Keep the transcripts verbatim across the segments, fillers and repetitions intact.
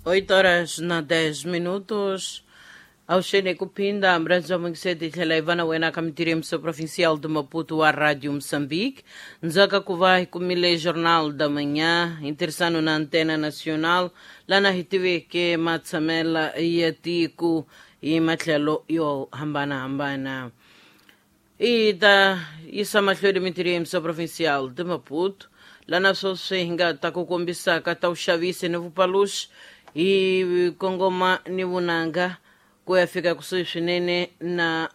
Oito horas na dez minutos. Auxene Kupinda, Mranzo Mwengiseti, tlhela ivana wena ka mitiremso provincial de Maputo a Rádio Moçambique. Nzaka kuva kumile Jornal da Manhã, interessando na Antena Nacional, lá na R T V que matsamela ya tiku e matlhelo yo hambana hambana. E da isa matlhelo mitiremso provincial de Maputo, lá na Sosenga ta kukombisa ka ta uxavisi ni vupaluxi hi kongoma ni vunanga ku ya fika kusuhi swinene na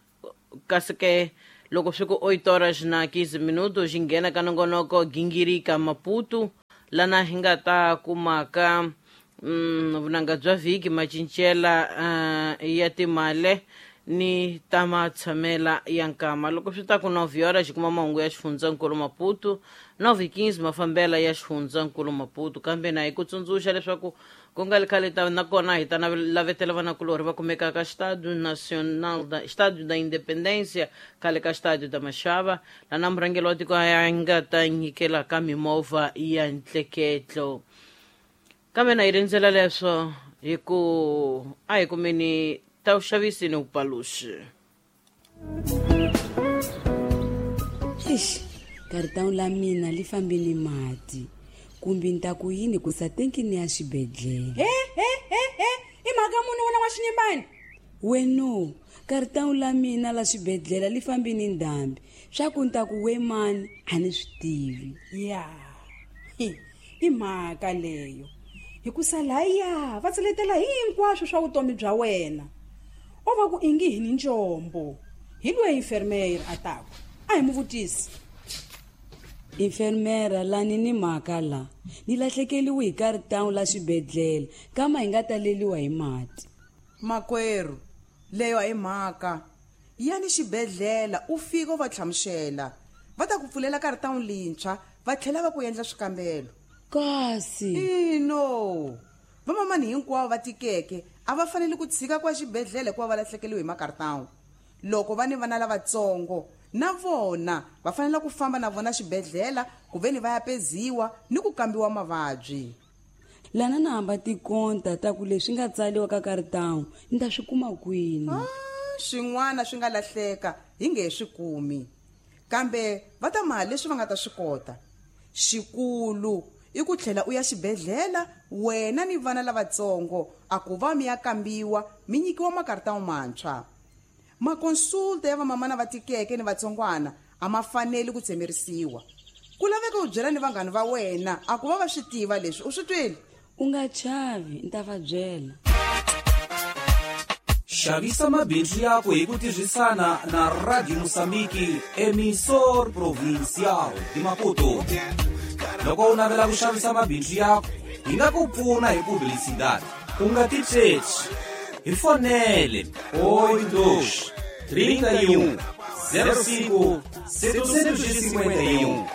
kasi ke loko swi ku oito horas na quinze minutos xi nghena ka nongonoko gingirika Maputo lana hi nga ta kumaka mm, vunanga bya vhiki macincela uh, ya timale ni ta matshamela ya nkama. Loko swi ta ku nove horas xi kuma mahungu ya xifundzankulu Maputo, nove quinze mafambela ya xifundzankulu Maputo. Kambe na hi ku tsundzuxa leswaku ku nga ri khale ta nakona hi ta lavetela vanakulorhi va kumekaka ka Estádio Nacional da Estádio da Independência, khale ka Estádio da Machava, lana murhangeri wa tiko ya nga ta nyikela ka mimovha ya ntleketlo. Kambe na hi rindzela leswo hi ku a hi kumeni ta uxavisi ni vupaluxi. Eish, karitawu la mina li fambile mati. Kumbe ni ta ku yini ku sa tenkini ya xibedhlele. He he he he, i mhaka muni wena wa xinyimbani? Weno, karitawu la mina la xibedhlele li fambile ndhambi. Swa ku ni ta ku we mani a ni swi tivi. Ya. Hi, i mhaka leyo. Hikusa laya va tseletela hinkwaswo swa vutomi bya wena. O va ku ingi hi ni njombo. Hi loyi enfermeira a taku. A hi mu vutisi. Enfermeira lani ni mhaka la. Ni lahlekeliwe hi karitawu la xibedhlele kama hi nga taleliwa hi mati. Makwerhu, leyo a hi mhaka. Yani xibedhlele u fika u va hlamusela. Va ta ku pfulela karitawu lintshwa va tlhela va ku endla swikambelo. Kasi ino vamamani hinkwavo va tikeke a va fanele ku tshika kwa xibedhlele ku va va lahlekeliwe hi makaritawu. Loko va ni vana lavatsongo na vona va fanele ku famba na vona xibedhlele ku ve ni va ya peziwa ni ku kambiwa mavabyi. Lana na hamba tikonta ta ku leswi nga tsaliwa ka karitawu ni ta swi kuma kwini? Ah, swin'wana swi nga lahleka hi nge he swi kumi, kambe va ta maha leswi va nga ta swi kota. Xikulu i ku tlhela u ya xibedhlele wena ni vana lavatsongo a ku va mi ya kambiwa mi nyikiwa makaritawu mantshwa. Makonsulta ya vamamana va tikeke ni vatsongwana a ma faneli ku tsemerisiwa. Ku laveka u byela ni vanghana va wena a ku va va swi tiva leswi u swi twile. U nga chavi, ni ta va byela. Xavisa mabindzu yako hi ku tirhisana na Radio Moçambique, emissor provincial de Maputo. Loko u navela ku xavisa mabindzu yako, hi nga ku pfuna hi publicidade. U nga titsheci. Hi fonele oito dois, trinta e um, zero cinco, setecentos e cinquenta e um.